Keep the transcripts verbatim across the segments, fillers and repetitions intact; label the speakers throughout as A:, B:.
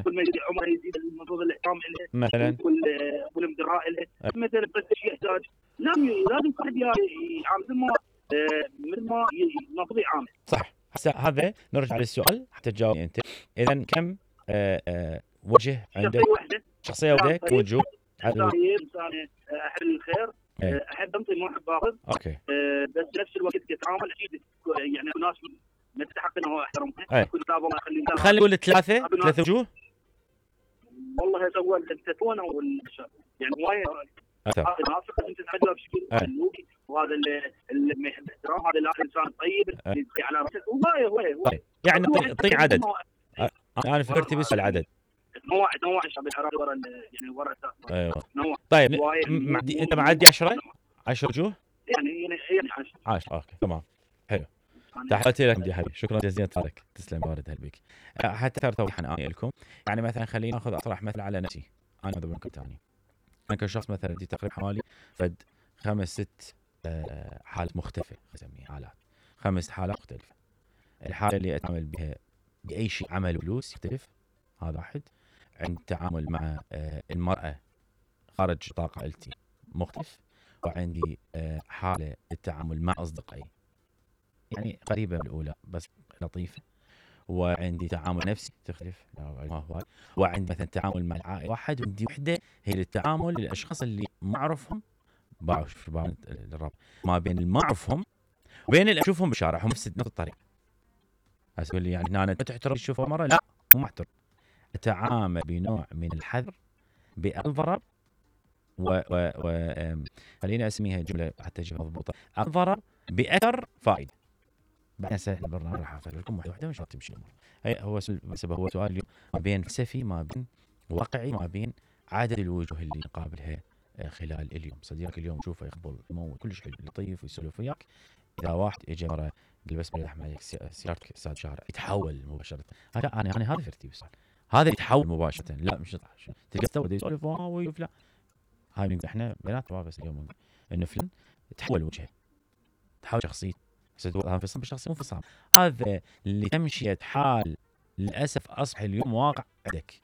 A: كل ما يزيد عمره يزيد المفروض الاحترام له
B: مثلا
A: والامتراء له مثلا. بس يحتاج لازم لازم واحد يعامل ما مثل ما المفروض يعامل.
B: صح. هسه هذا نرجع للسؤال حتى تجاوب انت. اذا كم آآ آآ وجه عندك؟ شخصيه واحده كم وجه؟
A: انسان انسان احب الخير، احب انطي ما احب اخذ.
B: اوكي.
A: أه بس نفس الوقت تتعامل اكيد يعني ناس ما تستحق انه احترمها.
B: كل الله يخلي خلي نقول ثلاثه ثلاث وجوه.
A: والله هسه هو التلفون او يعني هوايه هذا ناصح انت تعجبه بشكل سلوكي، وهذا اللي ما يحب احترام، هذا لا انسان طيب اللي على راسك هوايه هوايه هوايه يعني
B: طيب عدد. انا فكرت بس العدد
A: نوع نوع الشعب العراقي ورا يعني ورا الاساس.
B: ايوه
A: نوع.
B: طيب معدي انت معدي عشرة عشرة وجوه
A: يعني يعني عشرة
B: عشرة. اوكي تمام حلو. تحياتي لك يا حبيبي، شكرا جزيلا لك، تسلم بارد هالبيك. حتى ترى توضيحا اني لكم يعني مثلا خلينا ناخذ اطرح مثل على نفسي انا ضمنكم ثاني. انا كشخص مثلا دي تقريبا حوالي فد خمس ست حالات مختلفه، اسميها حالات خمس حالات مختلفه. الحاله اللي اتعامل بها باي شيء عمل فلوس يختلف، هذا واحد. عند التعامل مع المراه خارج نطاق عائلتي مختلف. وعندي حاله التعامل مع اصدقائي يعني قريبه من الاولى بس لطيفه. وعندي تعامل نفسي تختلف ما هو. وعندي مثلا تعامل مع العائله واحد. وعندي وحده هي للتعامل للاشخاص اللي ما اعرفهم. بعرف الرب ما بين اللي ما اعرفهم وبين اللي اشوفهم بالشارع هم نفس الطريقه. اسوي لي يعني انا تحترم تشوفه مره لا مو محترم. اتعامل بنوع من الحذر بالضرب و و و خلينا اسميها جمله حتى تجي مضبوطه. الضرب باثر فائده. بعدين سهل البرنامج راح اعطي لكم واحده واحده مش راح تمشي الامور. هي هو سبب هو سؤال اليوم ما بين فلسفي ما بين واقعي ما بين عدد الوجوه اللي نقابلها خلال اليوم. صديقك اليوم تشوفه يقبل يموت كلش حلو لطيف ويسولف وياك. اذا واحد اجى مره يلبس بلد احمر سيارتك استاذ شارع يتحول مباشره. هذا انا انا هذا ترتيب السؤال. هذا يتحول مباشره لا مش تلقى تو يسولف واو لا. هاي احنا بيناتنا بس اليوم انه فلان تحول وجهه تحول شخصيته. هذا انفصام بالشخصيه مو انفصام. هذا اللي تمشي حال للاسف اصبح اليوم واقع عندك.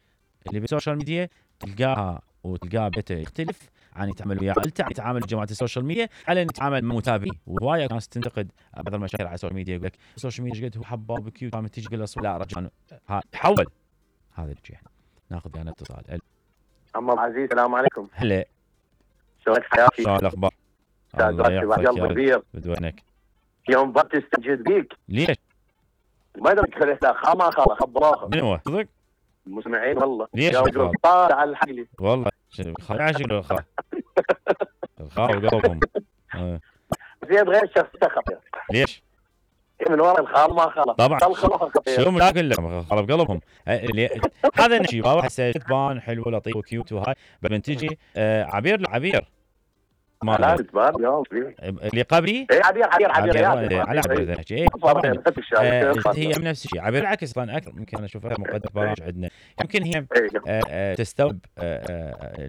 B: اللي بالسوشيال ميديا تلقاها وتلقاه بيته يختلف عن يتعامل ويا عائلته، عن يتعامل جماعه السوشيال ميديا، على ان يتعامل مع متابعين. وهوايه ناس تنتقد بعض المشاهير على السوشيال ميديا يقول لك السوشيال ميديا قد هو حباب كيوت عم تيجي تقول لا رجل تحول. هذا الشيء ناخذ يعني اتصال.
C: عم عزيز السلام عليكم.
B: هلا
C: شلونك حياتي؟
B: شلون الاخبار؟
C: الله يحفظك يا
B: بدونك
C: يوم بط استجد بيك.
B: ليش؟
C: ما ادري خليت لا خا خا خبراها
B: من هو؟ صدق؟
C: المسمعين والله.
B: ليش؟
C: طالع على الحقلي
B: والله خا شكله الخا الخا وقلبهم
C: زين غير شخصيته خطير.
B: ليش؟
C: من ورا الخال ما خلص
B: طبعا
C: خطير.
B: شو مشاكل لهم خرب قلبهم. هذا نشي واحد سيتبان حلو لطيف وكيوت وهاي بعدين تجي عبير عبير
C: ما لا تبان يوم
B: اللي قبلي
C: اي عبير عبير عبير
B: على عبير ذا نحكي. طبعا هي من نفس الشيء عبير العكس طبعا اكثر. يمكن انا اشوفها مقدمه برامج عندنا يمكن هي تستوعب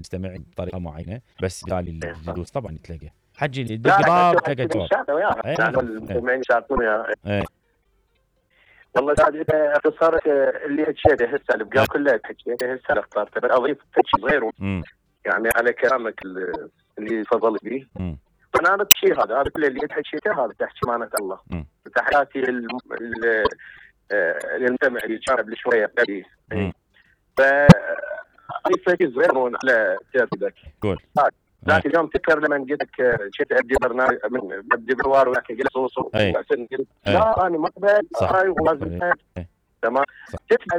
B: تستمع بطريقه معينه بس قال الجلوس طبعا تلاقي حجي اللي يدق باب تلقى جواب.
C: المستمعين يشاركون والله سعد اذا اختصرت اللي حكيته هسه البقاء كله حكيته هسه اخترته بس اضيف شيء صغير يعني على كلامك اللي تفضلت به. انا هذا الشيء هذا هذا كل اللي حكيته هذا تحكي معناته الله. تحياتي للمستمع اللي كان قبل شويه قبل ف اضيف شيء صغير على سيرتك.
B: قول.
C: ذاك اليوم تذكر لما قلت لك شفت ابدي برنامج ابدي بروار وياك قلت صوصو لا انا ما اقبل هاي ولازم تمام تسمع